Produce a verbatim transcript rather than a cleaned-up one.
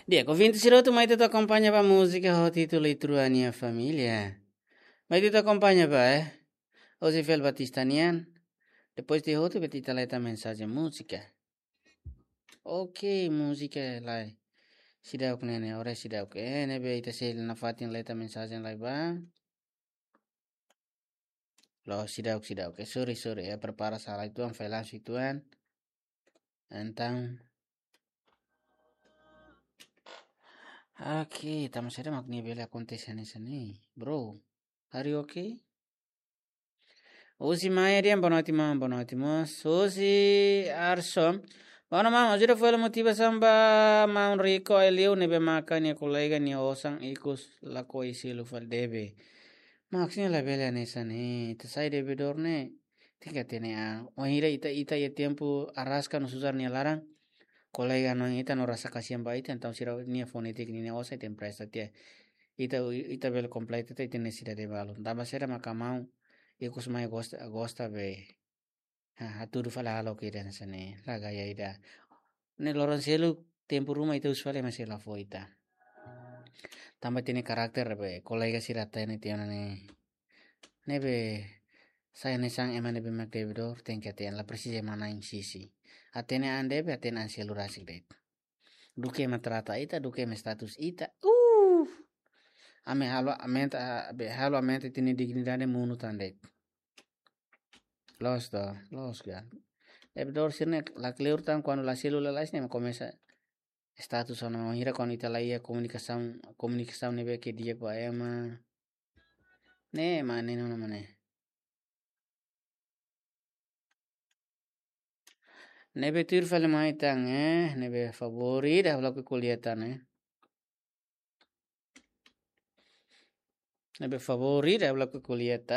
Di'ak, ouvinte sira hotu, mai ita atu akompaña ba múzika ho títulu Itrua Nia Família. Mai ita atu akompaña ba, eh. José Fel Batista nian. Depois de hotu, bele ita leta mensajen múzika. Ok, múzika lai. Seidauk ne'e, ne'e, ora seidauk. Eh, ne'ebé ita sei nafatin leta mensajen lai ba. Loos, seidauk, seidauk. Eh, sorry, sorry. Eh, prepara sala uitoan, file langsung uitoan. Entaun. Ok, tanba saida mak ne'e bele akontese hanesan ne'e, bro? Are you ok? Husi Maia dehan, boa noite, maun, boa noite, mós. Husi Arson. Boa noite, maun. Ajuda fali motivasaun ba maun Rico Aileu ne'ebé maka nia kolega nia osan ikus lakohi selu fali debe. Maksudnya labele hanesan ne'e, ita sai debedór ne'e. Tenke hatene an. Wainhira ita, ita iha tempu araska no susar nia laran. Kolega no ita no rasa kasihan ba ita, entaun sira-nia fó netik ninia osan ita empresta tiha. Ita, ita bele kompleta ita, ita-nia nesesidade balu. Tanba saida maka maun ikus mai gosta, gosta be. Ha, hatudu fali halo ke dan sene, la gaya ida. Ne'e loron seluk tempu ruma ita husu fali ema sei la fó ita. Tanba ita-nia karakter be, kolega sira hatene tiha ona ne'e. Ne'ebé, sai hanesan ema ne'ebé mak debedór, tenke hatene, la presiza ema na'in sisi. Hatene an debe, hatene an selu rasik de'it. Duké ema trata ita, duké ema status ita. Uh! Ami halo aumenta, be halo aumenta ita-nia dignidade monu tan de'it. Loos to, loos ka. Debedór sira-ne'e la kleur tan kuandu la selu lalais ne'e komesa status ona, wainhira kuandu ita la iha komunikasaun, komunikasaun ne'ebé ke di'ak ba ema. Ne'e mak ne'e nona mak ne'e. Ne'ebé tuir fali mai tan, eh, ne'ebé favór ida ha'u lakohi ko'alia tan, eh. Ne'ebé favór ida ha'u lakohi ko'alia tan.